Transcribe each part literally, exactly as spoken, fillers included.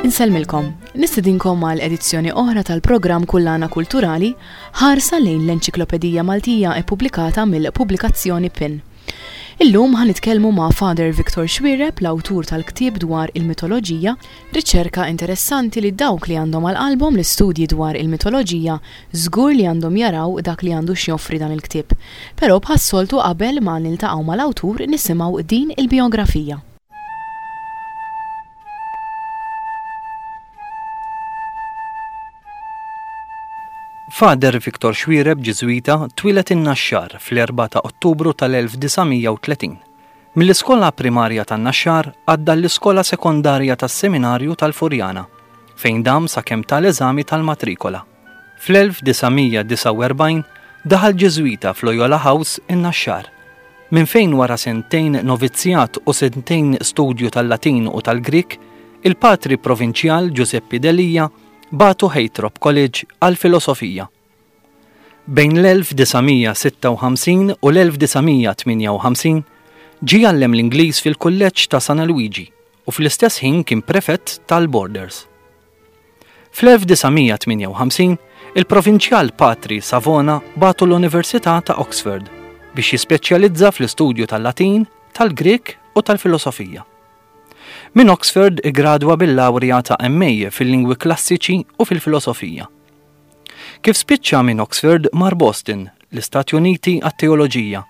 Insellmilkom, nistedinkom għal edizzjoni oħra tal-programm Kullana Kulturali ħarsa lejn l-Enċiklopedija Maltija ippubblikata mill-pubblikazzjoni PIN. Illum ħa nitkellmu ma' Father Victor Xuereb, l-awtur tal-ktieb dwar il-mitoloġija, riċerka interessanti li dawk li għandhom għal qalbhom l-istudji dwar il-mitoloġija żgur li għandhom jaraw dak li għandu x'joffri dan il-ktieb. Però bħas-soltu qabel ma niltaqgħu mal-awtur nisimgħu din il-biografija. Father Victor Xuereb Ġiżwita twieled in-Naxxar fl-erbgħa ta' Ottubru tal-elf disa' mija u tletin. Mill-iskola primarja tan-Naxxar għadda l-iskola sekondarja tas-Seminarju tal-Furjana, fejn dam sakemm tal-eżami tal-matrikola. Fl-elf disa' mija disgħa u erbgħin daħal Ġiżwita f'Loyola House in-Naxxar, minn fejn wara sentejn novizzjat u sentejn studju tal-Latin u tal-Grik, il-patri provinċjal Giuseppe Delia bagħtu Heythrop College għal-filosofija. Bejn l-elf disa' mija sitta u ħamsin u l-elf disa' mija tmienja u ħamsin ġie jgħallem l-Ingliż fil-Kulleġġ ta' San Luigi u fl-istess ħin kien prefett tal-Borders. Fl-elf disa' mija tmienja u ħamsin il-provinċjal Patri Savona bagħtu l-Università ta' Oxford biex jispeċjalizza fl-istudju tal-Latin, tal-Grek u tal-Filosofija. Minn Oxford igradwa bil-lawrja ta' M A fil-lingwi klassiċi u fil-filosofija. Kif spiċċa minn Oxford mar Boston, l-Istati Uniti għat-teoloġija,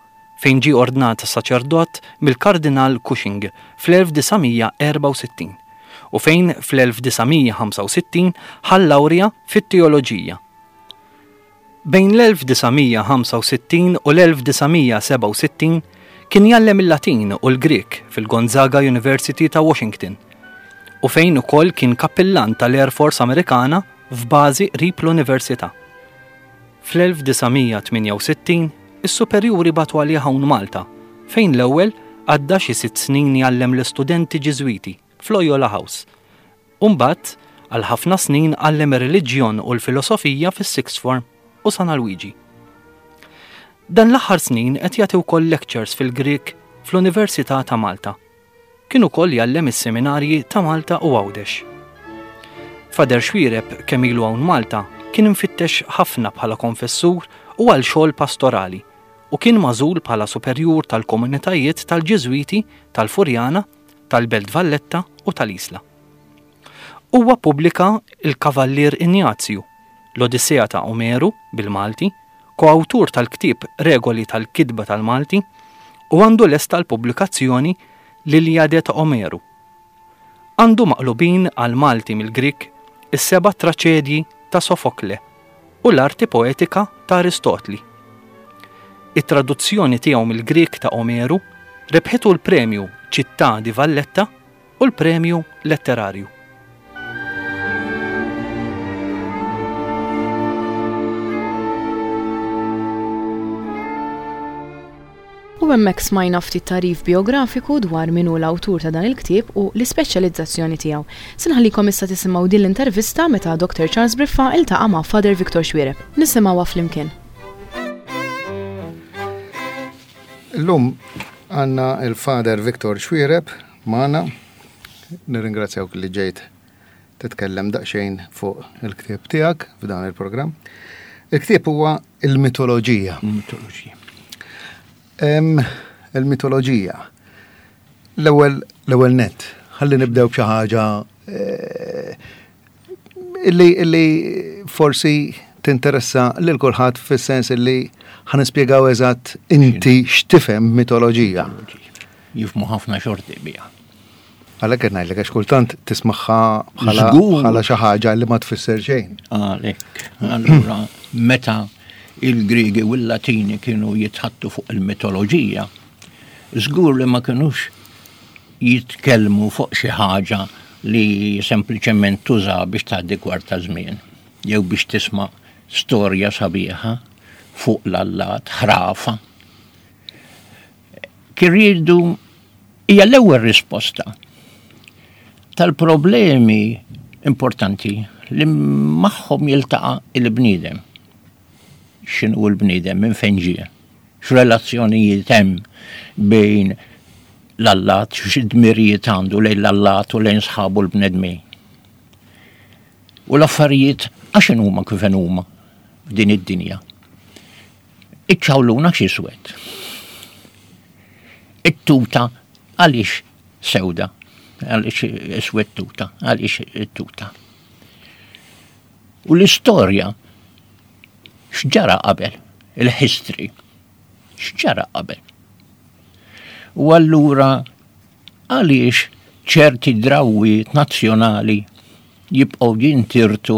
fejn ġie ordnat saċerdot mill-Kardinal Cushing fl-elf disa' mija erba' u sittin u fejn fl-elf disa' mija ħamsa u sittin ħa lawrja fit-teoloġija. Bejn l-elf disa' mija ħamsa u sittin u l-elf disa' mija seba' u sittin kien jgħallem il-Latin u l-Grek fil-Gonzaga University ta' Washington u fejn ukoll kien kappillan tal-Air Force Amerikana f'bażi qrib l-Università. Fl-elf disa' mija tmienja u sittin is-superjuri bagħtu għalih hawn Malta, fejn l-ewwel għadda xi sitt snin jgħallem l-istudenti Ġiżwiti f'Loyola House. U mbagħad għal ħafna snin għallem ir-reliġjon u l-filosofija fis-Sixth Form u San Luigi. Dan l-aħħar snin qed jagħti wkoll lectures fil-Grek fl-Università ta' Malta. Kien ukoll jgħallem is-seminarji ta' Malta u Għawdex. Father Xuereb kemm ilu hawn Malta kien infittex ħafna bħala konfessur u għal xogħol pastorali u kien magħżul bħala superjur tal-komunitajiet tal-Ġiżwiti tal-Furjana, tal-Belt Valletta u tal-Isla. Huwa ppubblika Il-Kavallier Injazju, l-Odissea ta' Omeru bil-Malti, koawtur tal-ktieb Regoli tal-Kitba tal-Malti u għandu lesta l-pubblikazzjoni L-Iliade ta' Omeru. Għandu maqlubin għal Malti mill-Grik is-seba' traċedji ta' Sofokle u l-arti poetika ta' Aristotli. It-traduzzjoni tiegħu mill-Grik ta' Omeru rebħitu l-premju Città di Valletta u l-premju letterarju. U hemmhekk smajna ftit tagħrif biografiku dwar min hu l-awtur ta' dan il-ktieb u l-ispeċjalizzazzjoni tiegħu. Se nħallikom issa tisimgħu din l-intervista meta Doctor Charles Briffa iltaqa' ma' Father Victor Xuereb. Nisimgħuha flimkien. Illum għandna il-Father Victor Xuereb magħna. Nirringrazzjawk li ġejt titkellem daqsxejn fuq il-ktieb tiegħek f'dan il-programm. Il-ktieb huwa il-mitoloġija. Il-mitoloġija. Em, il-mitoloġija. L-ewwel, l-ewwel nett, ħalli nibdew b'xi ħaġa, eh, illi, illi forsi tinteressa lil kulħadd fis-sens illi ħa nispjegaw eżatt inti x'tifhem mitoloġija. Jifhmu ħafna xorti biha. Għalhekk qed ngħidlek għax kultant tismagħha bħala Żgur. bħala xi ħaġa li ma tfisser xejn. Għalhekk, allura meta il-Griegi u l-Latini kienu jitħattu fuq il-mitoloġija, żgur li ma kinux jitkellmu fuq xi ħaġa li sempliċement tuża biex tgħaddi kwart ta' żmien, jew biex tisma' storja sabiħa fuq l-allat, ħrafa. Kien riedu hija l-ewwel risposta tal-problemi importanti li magħhom jiltaqa' il-bniedem. X'inhu l-bniedem, minn fejn ġie, x'relazzjonijiet hemm bejn l-allat, x'dmirijiet għandu lejn l-allat u lejn sħabu l-bnedmin. U l-affarijiet għax huma kif huma f'din id-dinja. Iċ-ċawluna x'iswed. It-tuta għaliex sewda, għaliex iswed tuta, għaliex it-tuta. U l-istorja x'ġara qabel, il-history, x'ġara qabel. U allura għaliex ċerti drawwiet nazzjonali jibqgħu jintirtu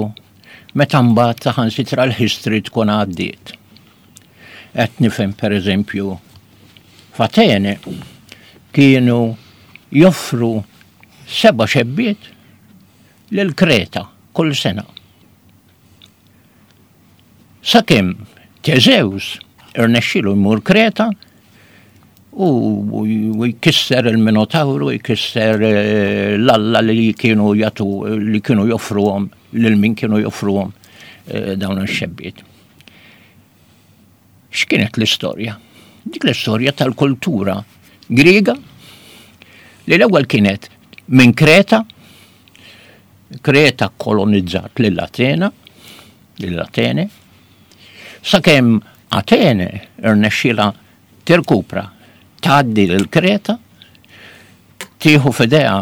meta mbagħad saħansitra l-history tkun għaddiet. Qed nifhem, pereżempju, f'Atene kienu joffru seba' xebbiet lil Kreta kull sena. Sakemm Teżews irnexxielu jmur Kreta u jkisser il-Minotawru, jkisser eh, l-alla li kienu jatu, li kienu joffruhom, lil min kienu joffruhom eh, dawn ix-xebbiet. X'kienet l-istorja? Dik l-istorja tal-kultura Griega li l-ewwel kienet minn Kreta, Kreta kolonizzat lil Atena, lil Atene, sakemm Atene irnexxila tirkupra, tgħaddi lil Kreta, tieħu f'idejha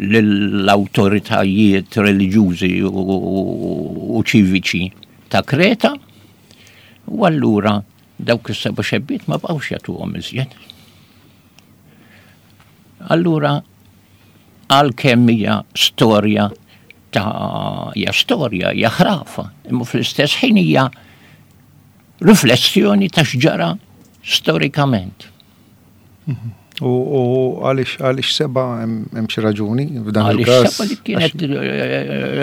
lill-awtoritajiet reliġjużi u ċiviċi ta' Kreta, u allura dawk is-seba' xebbiet ma bqgħux jagħtuhom iżjed. Allura għalkemm hija storja ta' hija storja, hija ħrafa, imma fl-istess ħin hija riflessjoni ta' x'ġara storikament. U għaliex għaliex seba', hemm xi raġuni f'dan il-każ? Għaliex seba'? Li kienet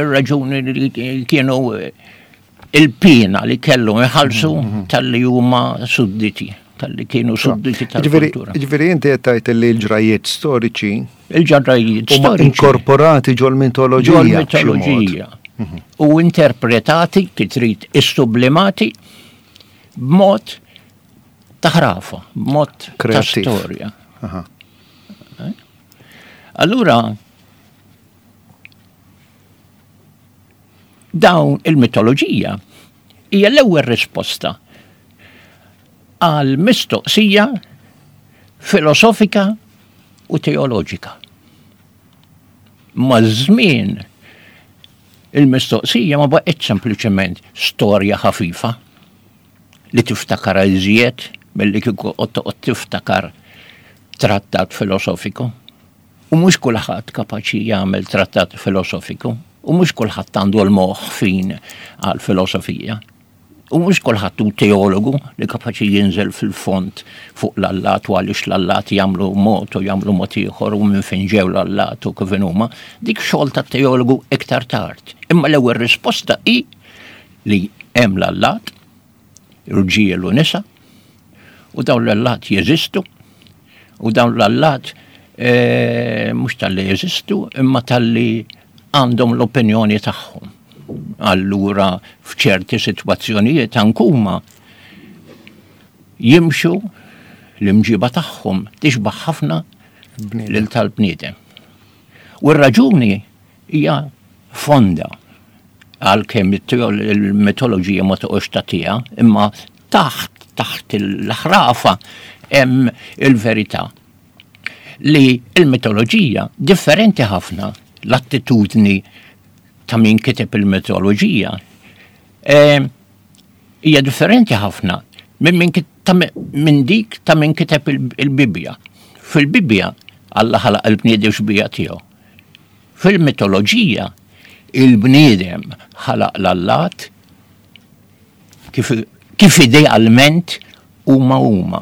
ir-raġuni li kienu il-pina li kellhom iħallsu talli huma sudditi, talli kienu sudditi tal-kultura. Ġifieri inti qed tgħid li l-ġrajiet storiċi il-ġrajiet huma storiċi inkorporati ġol-mitoloġija. Ġol-mitoloġija. U interpretati, kif trid, issublimati b'mod ta' ħrafa, b'mod ta' Kreattiv. storja. Aha. Allura, dawn il-mitoloġija hija l-ewwel risposta għal mistoqsija filosofika u teoloġika. Maż-żmien il-mistoqsija ma baqgħetx sempliċement storja ħafifa li tiftakar iżjed milli kieku toqgħod tiftakar trattat filosofiku. U mhux kulħadd kapaċi jagħmel trattat filosofiku, u mhux kulħadd għandu l-moħħ fin għal filosofija. U mhux kulħadd hu teologu li kapaċi jinżel fil-fond fuq l-allat u għaliex l-allat jagħmlu mod u jagħmlu mod ieħor u minn fejn ġew l-allat u kif huma. Dik xogħol ta' teologu iktar tard. Imma l-ewwel risposta hi li hemm l-allat, irġiel u nisa, u dawn l-allat jeżistu, u dawn l-allat eh, mhux talli jeżistu, imma talli għandhom l-opinjoni tagħhom. Allura f'ċerti sitwazzjonijiet ankuma jimxu, l-imġiba tagħhom tixbaħ ħafna Bniedem. lil tal-bniedem. U r-raġuni hija fonda, għalkemm il-mitoloġija ma toqgħodx tagħtiha, imma taħt taħt il-ħrafa hemm il-verità li il-mitoloġija differenti ħafna, l-attitudni ta' min kiteb il-mitoloġija eh, hija differenti ħafna minn min kit- ta' min dik ta' min kiteb il- il-Bibbja. Fil-Bibbja Alla ħalaq il-bniedem xbija tiegħu. Fil-mitoloġija il-bniedem ħalaq l-allat kif, kif idealment huma huma.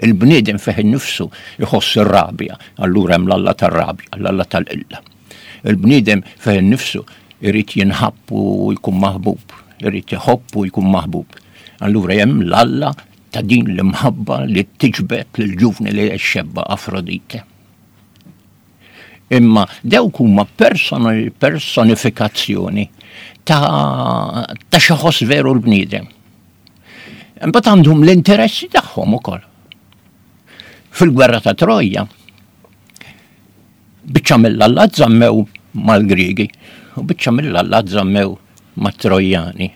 Il-bniedem fih innifsu jħoss ir-rabja, allura hemm l-alla tar-rabja, l-alla tal-qilla. Il-bniedem fih innifsu irid jinħabb u jkun maħbub, irid iħobb u jkun maħbub. Allura hemm l-alla ta' din l-imħabba li tiġbed lill-ġuvni li xebba, Afrodite. Imma dawk huma personi- personifikazzjoni ta' ta' xi ħoss veru l-bniedem. Imbagħad għandhom l-interessi tagħhom ukoll. Fil-gwerra ta' Troja, biċċa mill-allat żammew mal-Griegi u biċċa mill-allat żammew mat-Trojjani.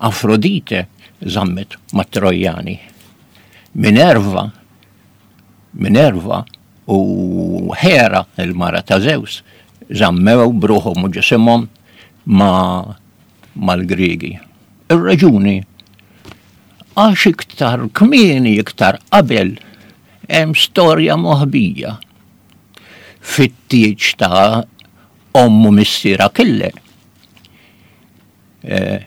Afrodite żammet mat-Trojjani. Minerva, Minerva u Hera, il-mara ta' Zeus, żammew bruħhom u ġisimhom ma mal-Griegi. Ir-raġuni għax iktar kmieni, iktar qabel, hemm storja moħbija fit-tieġ ta' ommu missier Akille. Eh,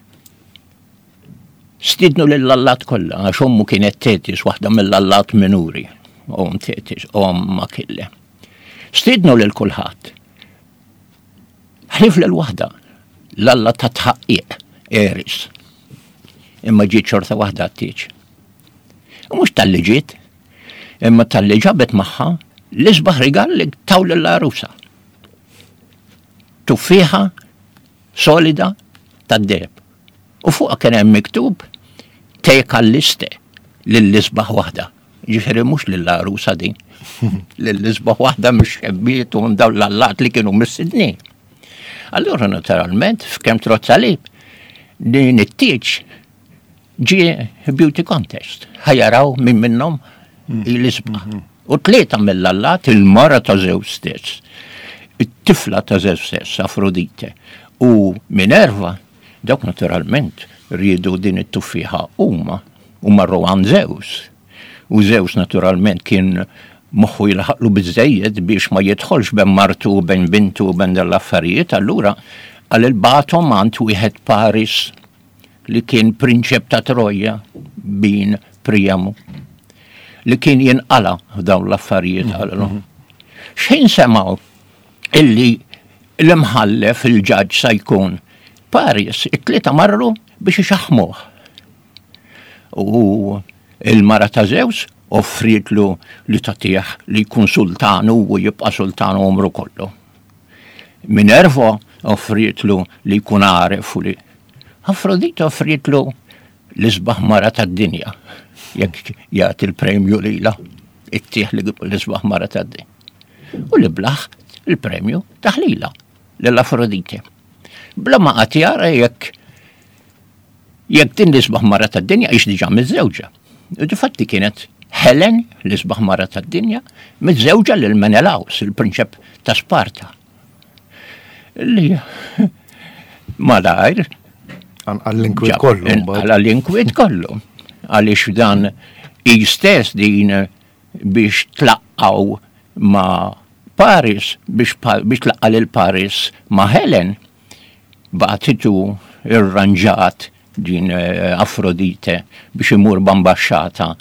Stidnu lill-allat kollha, għax ommu kienet Tetis, waħda mill-allat minuri, om Tetis, om Akille. Stidnu lil kulħadd. Ħlief lil waħda, l-alla ta' tħaqqiq, Eris. Imma ġiet xorta waħda t-tieġ. U mhux talli ġiet, imma talli ġabet magħha l-isbaħ rigal li taw lill-għarusa. Tuffieħa solida tad-deheb. U fuqha kien hemm miktub te kalliste lill-isbaħ waħda. Ġifieri mhux lill-għarusa din. Lill-isbaħ waħda mhux xebbiet u dawn l-allat li kienu mistednin. Allura naturalment f'kemm trodd salib din it-tieġ ġie beauty contest. Ħa jaraw min minnhom l-isbaħ. U tlieta mill-allat, il-mara ta' Zeus stess, it-tifla ta' Zeus stess, Afrodite, u Minerva, dawk naturalment riedu din it-tuffieħa huma u marru għand Zeus. U Zeus naturalment kien moħħu jilħaqlu biżejjed biex ma jidħolx bejn martu u bejn bintu u bejn dal-affarijiet, allura għal il-batom għand wieħed Paris li kien prinċep ta' Troja bin Priamu li kien jinqala f'dawn l-affarijiet għallu. Xejn semgħu illi l-imħallef il-ġaġ sa jkun Paris, it-tlieta marru biex ixaħmuh. U il-mara ta' Zeus offrietlu li tagħtih li jkun sultanu u jibqa' sultanu umru kollu. Minerva offrietlu li jkun għaref u li Afrodite offrietlu l-isbaħ mara tad-dinja jekk jagħti l-premju lilha, ittih li l-isbaħ mara tad-dinja. U li blaħ il-premju taħlila lill-Afrodite. Bla ma qatt jara jekk jekk din l-isbaħ mara tad-dinja hix diġà miżżewġa. U difatti kienet Helen, l-isbaħ mara tad-dinja, miżżewġa lil Menelaus, il-prinċep ta' Sparta. Li malajr Għall-inkwiet kollu. mbagħad. Għall-inkwiet kollu. Għaliex dan i stess din biex tlaqqaw ma' Paris, biex, pa- biex tlaqqa lil Paris ma' Helen, bagħtitu irranġat din eh, Afrodite biex imur b'ambaxxata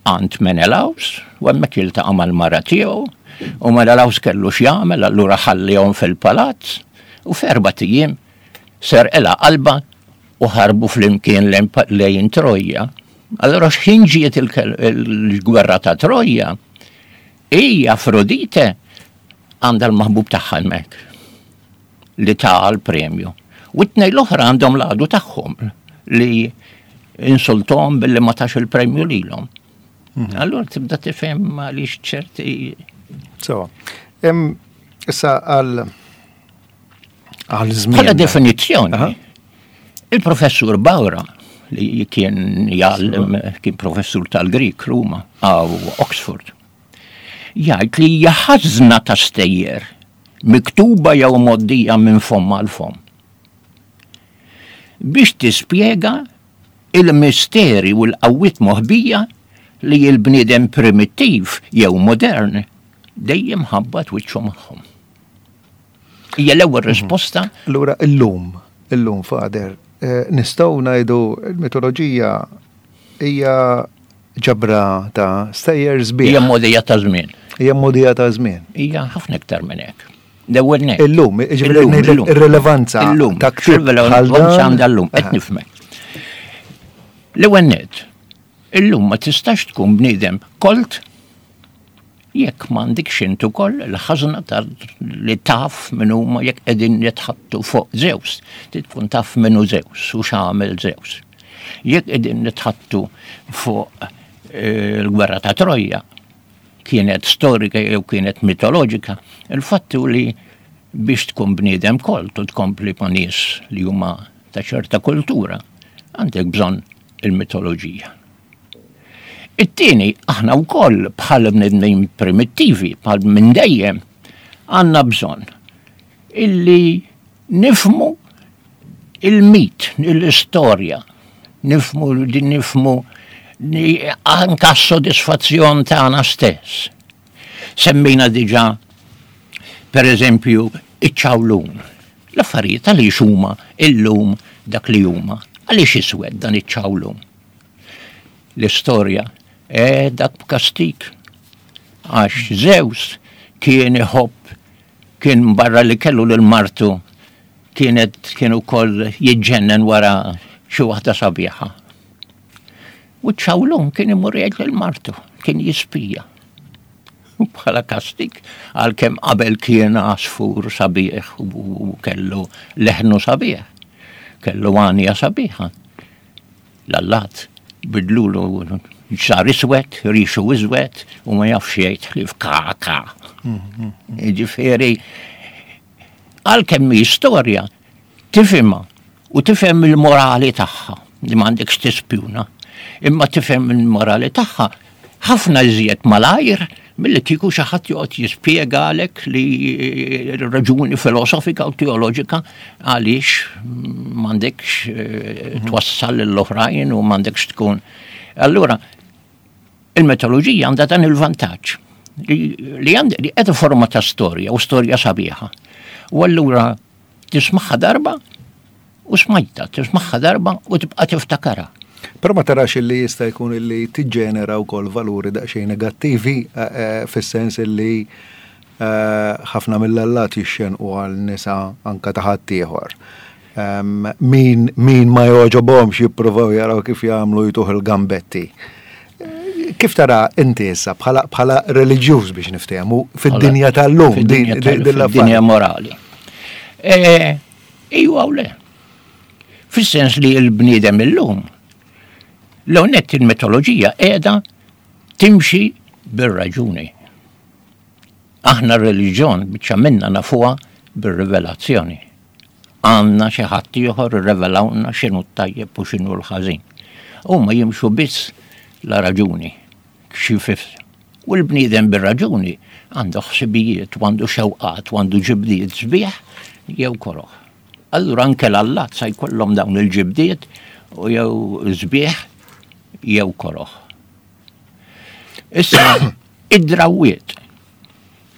għand Menelaus, u hemmhekk jiltaqa' mal-mara tiegħu, u Menelaus kellu x'jagħmel, allura ħallihom fil-palazz, u f'erbat ijiem serqilha qalbha u ħarbu flimkien lejn pa- lejn Troja. Allora x'ħin ġiet il-kel- il-gwerra ta' Troja, hija Afrodite għandha l-maħbub tagħha hemmhekk li ta' l-premju. U t-tnejn l-oħra għandhom l-għadu tagħhom li insultom billi ma tax il-premju lilhom. Allura tibda tifhem għaliex ċerti So, em, issa għal għal żmien. Bħala definizzjoni, Aha. il-professur Bawra, li kien jgħallem, kien professur tal-Grik Ruma, għaw Oxford, jgħid li hija ħażna ta' stejjer miktuba jew mgħoddija minn fomm għal fomm. Biex tispjega il-misteri u l-qawwiet moħbija li l-bniedem primittiv jew modern dejjem ħabbat wiċċu magħhom. Hija l-ewwel risposta. Allura illum, illum Father, eh, nistgħu ngħidu l-mitoloġija hija ġabra ta' stejjer sbieħ. Hija mogħdija ta' żmien. Hija mogħdija ta' żmien. Hija ħafna iktar minn hekk. L-ewwel nett. Illum, jiġifieri ngħidlek ir-rilevanza Illum, ta' ktieb bħal x'rilevanza dan? għandha llum, qed Aha. nifhmek. L-ewwel nett, illum ma tistax tkun bniedem kolt jekk m'għandekx int ukoll il-ħażna ta' li taf min huma jekk qegħdin jitħattu fuq Zeus. Trid tkun taf min hu Zeus u x'għamel Zeus. Jekk qegħdin nitħattu fuq eh, il-gwerra ta' Troja, kienet storika jew kienet mitoloġika, il-fatt hu li Biex tkun bniedem kolt u tkompli ma' nies li huma ta' ċerta kultura, għandek bżonn il-mitoloġija. It-tieni, aħna wkoll bħal bnedmin primittivi, bħal minn dejjem, għandna bżonn illi nifhmu il-mit, l-istorja, nifhmu nifhmu anka s-sodisfazzjon tagħna stess. Semmejna diġà, per eżempju, iċ-ċawlun. L-affarijiet għaliex huma illum dak li huma. Għaliex iswed dan iċ-ċawlun? L-istorja, e dak b'kastik. Għax Zeus kien iħobb, kien barra li kellu lil martu, kienet kien ukoll jiġġennen wara xi waħda sabiħa. U ċ-ċawlun kien imur jgħid lil martu, kien jispija. U bħala kastik, għalkemm qabel kien għasfur sabiħ u kellu leħnu sabiħ, kellu għanja sabiħa. L-allat bidlulu sar iswed, rixu iswed, u ma jafx jgħid ħlief ka ka. Ġifieri, għalkemm hi storja, tifhimha u tifhem il-morali tagħha, li m'għandekx tispjuna, imma tifhem il-morali tagħha ħafna iżjed malajr milli kieku xi ħadd joqgħod jispjegalek li raġuni filosofika u teoloġika għaliex m'għandekx twassal lill-oħrajn u m'għandekx tkun. Allura, il-mitoloġija għandha dan il-vantaġġ li għandha li qiegħda forma ta' storja u storja sabiħa. U allura tismagħha darba u smajta, tismagħha darba u tibqa' tiftakarha. Però ma tarax li jista' jkun li tiġġenera wkoll valuri daqsxejn negattivi fis-sens li ħafna mill-allat jixxenqu għal nisa anka ta' ħaddieħor. Min, min ma jogħġobhomx jippruvaw jaraw kif jagħmlu jtuh il-gambetti. Kif tara inti issa bħala bħala reliġjuż biex niftehmu fid-dinja tal-lum, fid-dinja morali? Ejwa u le. Fis-sens li l-bniedem illum, l-onet il-mitoloġija qiegħda timxi bir-raġuni. Aħna r-reliġjon biċċa minna nafuha bir-rivelazzjoni. Għandna xi ħadd ieħor irrevelawna x'inhu t-tajjeb u x'inhu l-ħażin. Huma jimxu biss la raġuni, xi fif. U l-bniedem bir-raġuni għandu ħsibijiet, u għandu xewqat, u għandu ġibdiet sbieħ jew koroħ. Allura anke l-allat sa jkollhom dawn il-ġibdiet u jew sbieħ jew koroħ. Issa, id-drawiet.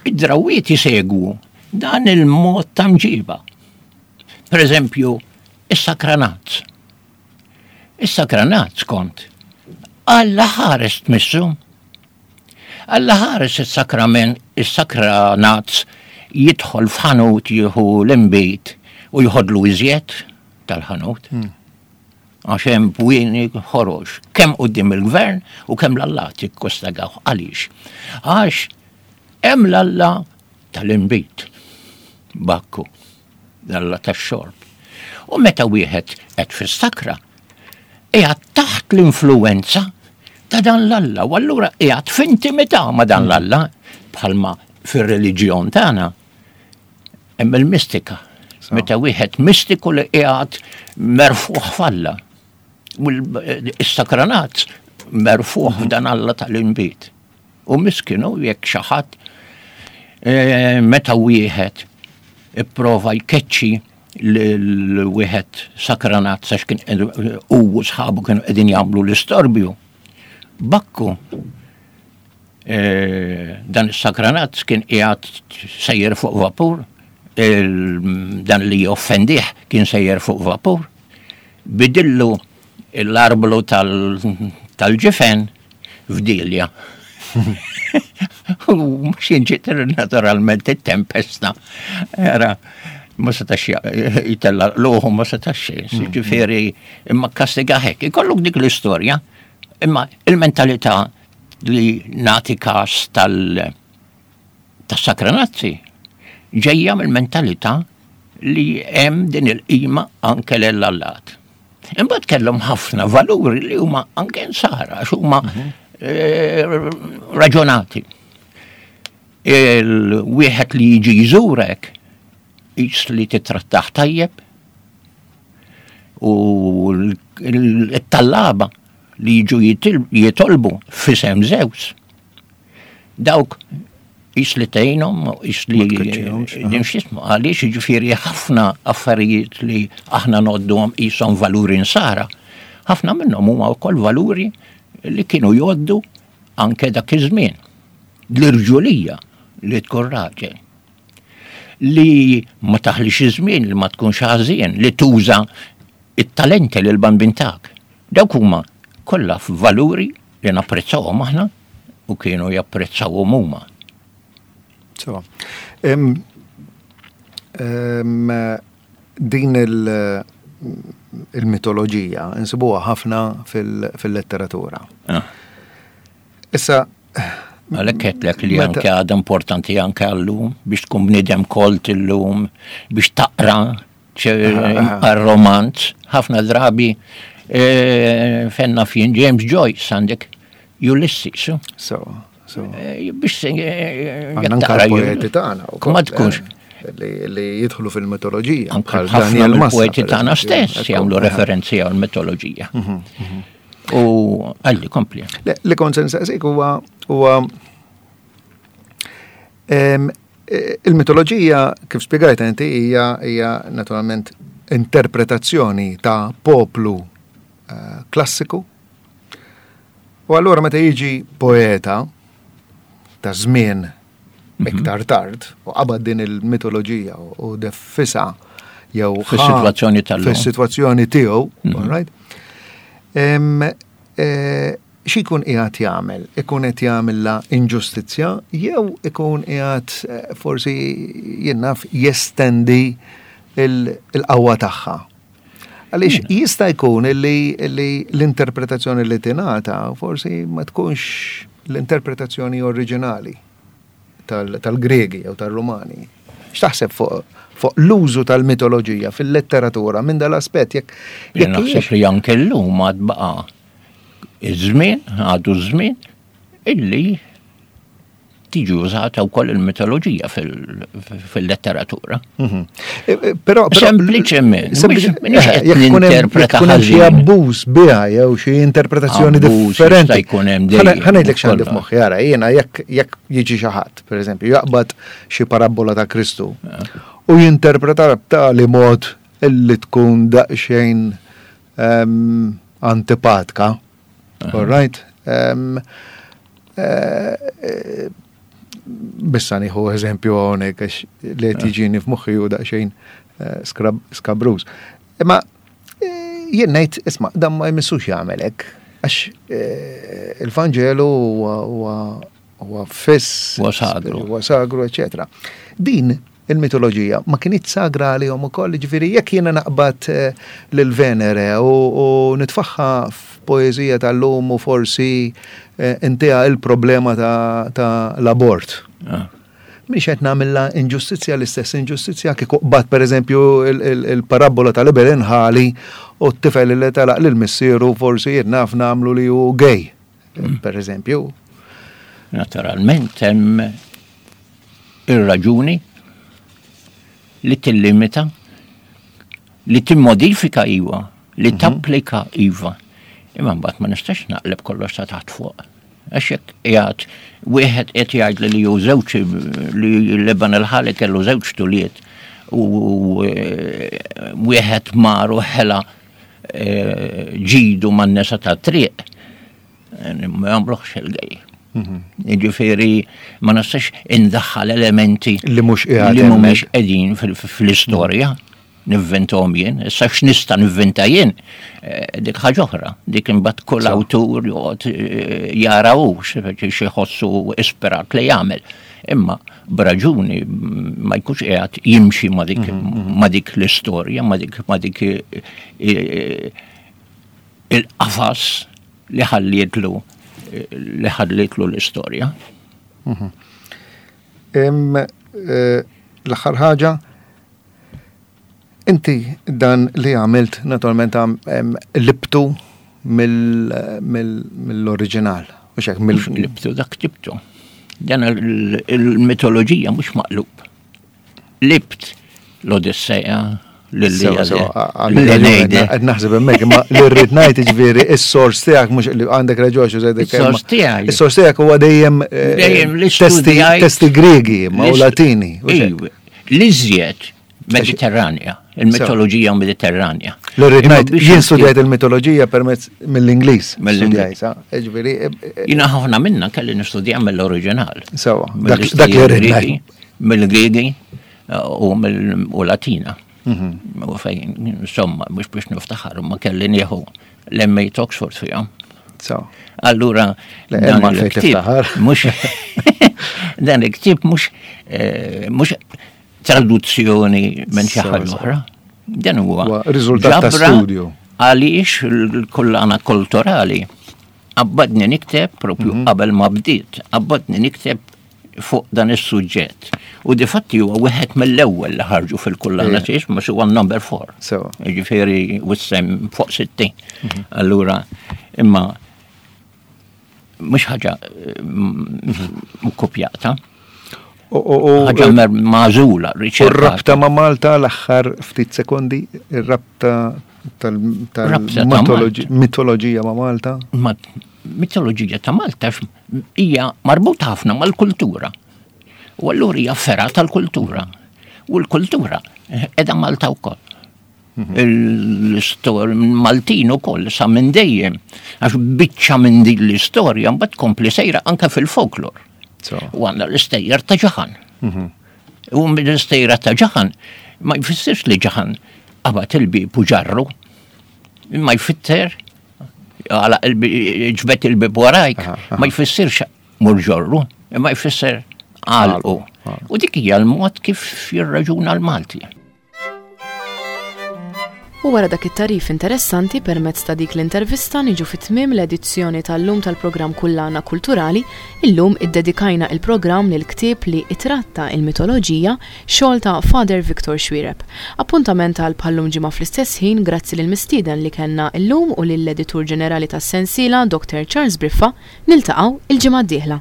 Id-drawiet jisegwu dan il-mod ta' mġiba. Per eżempju, is-sakranazz. Is-sakranazz kont Alla ħares tmissu. Alla ħares is-sakrament, is-sakranazz jidħol f'ħanut jieħu l-inbid u jħodlu iżjed tal-ħanut. Għax hemm bwieni ħorox, kemm quddiem il-gvern u kemm l-allat jikkostagaw. Għaliex? Għax hemm l-alla tal-inbid, Bakku, l-alla tax-xorb. U meta wieħed qed fis-sakra, qiegħed taħt l-influenza ta' dan l-alla, u allura qiegħed f'intimità ma' dan l-alla, bħalma fir-reliġjon tagħna hemm il-mistika. Meta wieħed mistiku li qiegħed merfuħ f'Alla. U s-sakranat merfuħ f'dan Alla tal-inbid. U miskinu jekk xi ħadd meta wieħed ipprova jkeċċi l-wieħed sakranat sax kien u sħabu kienu qegħdin jagħmlu l-istorbju. Bakku dan is-sakranat kien qiegħed sejjer fuq vapur, dan li joffendih kien sejjer fuq vapur, bidillu l-arblu tal-ġifen f'dilja. U mhux inġiet naturalment it-tempesta. Era, ma setax jitella l-uħu, ma setax, ġifieri, imma kastiga hekk. Ikollok dik l-istorja, imma il-mentalità li nati kas tal tas-sakranazzi ġejja mill-mentalità li hemm din il-qima anke l-allat. Imbagħad kellhom ħafna valuri li huma anke nsara, għax huma raġunati. Il-wieħed li jiġi jżurek Qis li titrattaħ tajjeb u l-tallaba li jiġu jitolbu f'isem Zeus. Dawk qis li tgħinhom, qis li nimxismu, għaliex jiġifieri ħafna affarijiet li aħna ngħodduhom qishom valuri nsara. Ħafna minnhom huma wkoll valuri li kienu jgħoddu anke dak iż-żmien. L-irġulija li tkun raġel. Li ma taħlix iż-żmien, li ma tkunx ħażin, li tuża it-talenti lil bambin tagħek. Dawk huma kollha valuri li napprezzawhom aħna u kienu japprezzawhom huma. So, um, um, din il- il-mitoloġija insibuha ħafna fil-letteratura. Ah. Issa Għalhekk għedtlek li anke għadha importanti anke għallum biex tkun bniedem kolt illum, biex taqra romanz, ħafna drabi e, fenna fjien James Joyce għandek Ulysses. So, so. E, biex Għandna anke poeti tagħna Ma tkunx. Li jidħlu fil-mitoloġija. Anke ħafna mill-poeti tagħna stess jagħmlu referenzi għall-mitoloġija. Mhm, mhm. U għalli kompli. Li kont se nsaqsik huwa huwa il-mitoloġija kif spjegajt inti hija hija naturalment interpretazzjoni ta' poplu eh, klassiku. U allura meta jiġi poeta ta' żmien iktar tard u qabad din il-mitoloġija u defisa jew fis-sitwazzjoni tal-lum. Fis-sitwazzjoni tiegħu, all right? Em, eh, Xi jkun qiegħed jagħmel? Ikun qed jagħmilha inġustizzja jew ikun qiegħed eh, forsi jien naf jestendi il-qawwa tagħha. Għaliex jista' jkun illi illi l-interpretazzjoni li tingħata forsi ma tkunx l-interpretazzjoni oriġinali tal-Gregi jew tal-Rumani. X'taħseb fuq fuq l-użu tal-mitoloġija fil-letteratura minn dal-aspett jekk Jien naħseb li anke llum għad baqa' iż-żmien, għadu ż-żmien illi tiġi użata wkoll il-mitoloġija fil-letteratura. Mhm. E, e, Però Sempliċement, mhux- mhux qed jekk ikun hemm- ninterpreta jekk ikun hemm xi ħażin. abbuż biha jew xi interpretazzjoni Abbuż differenti. jista' jkun hemm dejjem, Ħa ngħidlek x'għandi kollha. f'moħħi ara, jiena jekk jekk jiġi xi ħadd, pereżempju, jaqbad xi parabbola ta' Kristu u jinterpreta b'tali mod illi tkun daqsxejn ehm, antipatka. All right? Ehm, eh, eh, Bissa nieħu eżempju hawnhekk għax li qed jiġini f'moħħi hu daqsxejn eh, skrab- skabruż. Imma eh, jien ngħid isma' dan ma jmissux jagħmel hekk għax eh, il-Vanġelu huwa- huwa huwa fiss, Huwa sagru. huwa sagru, eċetera. Din il-mitoloġija ma kienet sagra għalihom ukoll, ġifieri jekk jiena naqbad eh, lil Venere u, u nitfaħħa f'poeżija tal-lum u forsi eh, intiha il-problema ta', ta l-abort. Ah. Mhix qed nagħmilha inġustizzja l-istess inġustizzja kieku qbad pereżempju il- il- il-parabbola tal-ibel inħali u t-tifel li telaq lil missieru forsi jien naf nagħmlu li hu gay, pereżempju. Naturalment hemm ir-raġuni li tillimita, li timmodifika iwa, li tapplika iva. Imma mbagħad ma nistax naqleb kollox ta' taħt fuq. Għax jekk qiegħed wieħed qed jgħid li hu żewġ li Leban il-ħali kellu żewġ tuliet u eh, wieħed mar u ħela eh, ġidu man-nesa ta' triq ma jagħmluhx il-gej. Jiġifieri ma nistax indaħħal elementi Li mhux qiegħed li mhumiex hemmhekk. qegħdin fil- fl-istorja nivventahom jien, issa x'nista' nivventa jien, eh, dik ħaġa oħra, dik imbagħad kull awtur joqgħod eh, jara hu xi jħossu ispirat li jagħmel. Imma b'raġuni mm, ma jkunx qiegħed jimxi ma dik ma dik l-istorja, ma dik ma dik eh, eh, il-qafas li ħallietlu li ħallietlu l-istorja. Em, eh, L-aħħar ħaġa, inti dan li għamilt naturalment għam- em, libtu mill- mill- mill-oriġinal. Mhux hekk, mill- Mhux libtu dak ktibtu. Dan il- il-mitoloġija mhux maqlub. Libt L-Odisseja, l-Iliade, l-Eneide. Qed naħseb hemmhekk, imma li rrid ngħid, jiġifieri is-sors tiegħek mhux li għandek raġun xi żejdek. Is-sors tiegħi. Is-sors tiegħek huwa dejjem eh, Dejjem li testi studjajt- testi Griegi ma u Latini. U xejn. Iva, l-iżjed Mediterranja, il-mitoloġija Mediterranja. Li rrid Imma ngħid, biex jien nikteb- studjajt il-mitoloġija permezz mill-Ingliż. Mill-Ingliż. Studjajt, sa? Jiġifieri, eh, eh, Jina ħafna minna kelli nistudja mill-oriġinal. Sewa, dak dak li rrid ngħid. Mill-Griegi eh, u mill- u Latina. Mhm. U fejn, insomma, mhux biex niftaħar, ma kelli nieħu l-M A Oxford fihom. Sewa. Allura, Le, dan hemm għalfejn il-ktieb tiftaħar. mhux dan il-ktieb mhux eh, mhux traduzzjoni minn xi Sewa, ħaġa sewa. oħra. Dan huwa Huwa riżultat ta' ġabra studju. għaliex il-kullana kulturali qabbadni nikteb propju Mhm. qabel ma bdiet, qabbadni nikteb fuq dan is-suġġett. U difatti huwa wieħed mill-ewwel li ħarġu fil-kullana Ija. tiex, ma huwa number four. Sewa. Ġifieri wissem fuq sittin. Mhm. Allura, imma mhux ħaġa eh, m- kopjata, U- u- u- ħaġa mer- magħżula, U riċerkata. r-rabta ma' Malta, l-aħħar ftit sekondi, ir-rabta Rabta ta' tal-mitoloġija ma' Malta. Ma mitoloġija ta' Malta x- hija marbuta ħafna mal-kultura. U allura hija fergħa tal-kultura. U l-kultura qiegħda Malta wkoll. L-istorja Maltin ukoll sa minn dejjem, għax biċċa minn din l-istorja mbagħad tkompli sejra anke fil-folklor. Sewa. U għandna l-istejjer ta' Ġaħan. U mill-istejra ta' Ġaħan ma jfissirx li Ġaħan qabad il-bib u ġarru. Ma jfisser għala ġbet il-bib warajk, Aha, aha. ma jfissirx mur ġorru, ma jfisser għalqu. Għalqu. U dik hija l-mod kif jirraġuna l-Malti. U wara dak it-tarif interessanti permezz ta' dik l-intervista niġu fit-tmiem l-edizzjoni tal-lum tal-programm Kullana Kulturali. Illum iddedikajna il-programm lil ktieb li itratta il-mitoloġija, xogħol ta' Father Victor Xuereb. Appuntament għal bħallum ġimgħa fl-istess ħin. Grazzi lil mistieden li kellna illum u lill-editur ġenerali tas-sensiela, Doctor Charles Briffa. Niltaqgħu il-ġimgħa d-dieħla.